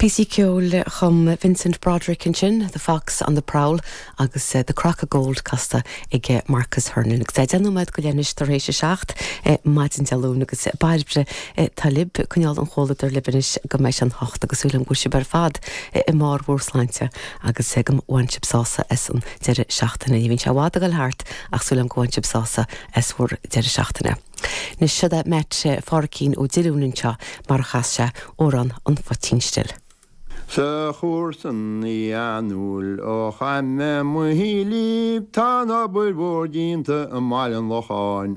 Píosaí ceoil a chum Vincent Broderick ansin, The Fox on the Prowl agus The Crock of Gold casta ag Marcus Hernon. Agus é 10 nóiméad go leith anois tar éis a 7 maidin Dé Luain agus Bairbre atá libh ag coinneáil an chomhluadair libh anois go mbeidh sé an hocht agus súil agam go bhfuil sibh ar fad i mbarr bhur sláinte agus go bhain sibh sásamh as an deireadh seachtaine. Ní bhíonn sé i bhfad ag dul thart ach súil agam go bhain sibh sásamh as bhur deireadh seachtaine. Anois seo é Matt Phádhraic Ó Diolúin anseo mar a chas sé amhrán an phoitín stil. Sa chúrsa fhiadhúlra ó chaith mé mo shuílíbh tá an obair mhór déanta i mBaile an Locháin.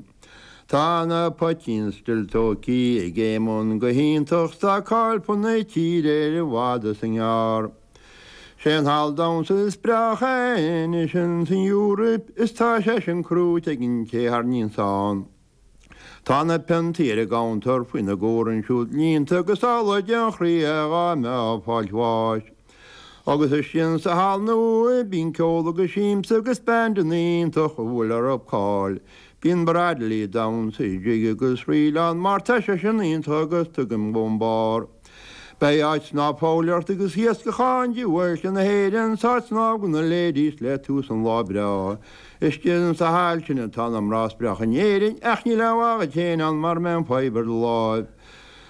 Tá na poitín stil tóigthí ag Éamonn go hiontach 's tá cáil fud na tíre air i bhfad is i ngearr. Sé an halla damhsa is breágha anois ins an Eoraip is tá sé sin crúite ag an té tharraingíonns ann. Tá na piontaí ar an gcuntar faoi na gcomhar ansiúd líonta agus amhlaidh den chroí é dhá mbeadh ag fáilt bháis. Agus istigh insa halla nua bíonn ceol agus siamsa agus bandanna iontach a bhfuil orthu cáil. Bíonn Bradley ag damhsa jig agus ríl ann mar tá sé sin iontach agus tuigim ón barr. Beidh áit snámh foghlaíocht agus iascach ann de mhuilte na hÉireann 's áit snámh do na ladies le tús an lá breá. Istigh insa hall sin atá na mná is breácha in Éirinn ach níl aon mhaith dhuit féin ann mara mbeidh an fadhb ar do láimh.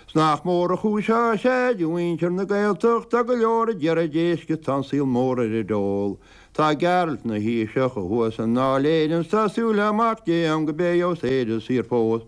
'S nach mór an chúis áthais é do mhuintir na Gaeltacht tá go leor ag iarraidh éisc is tá an saol mór ar a dól. Tá Gearailt 'na Thaoiseach thuas i nDáil Éireann 's tá súil le Mac Dé ann go mbeidh Éire saor fós.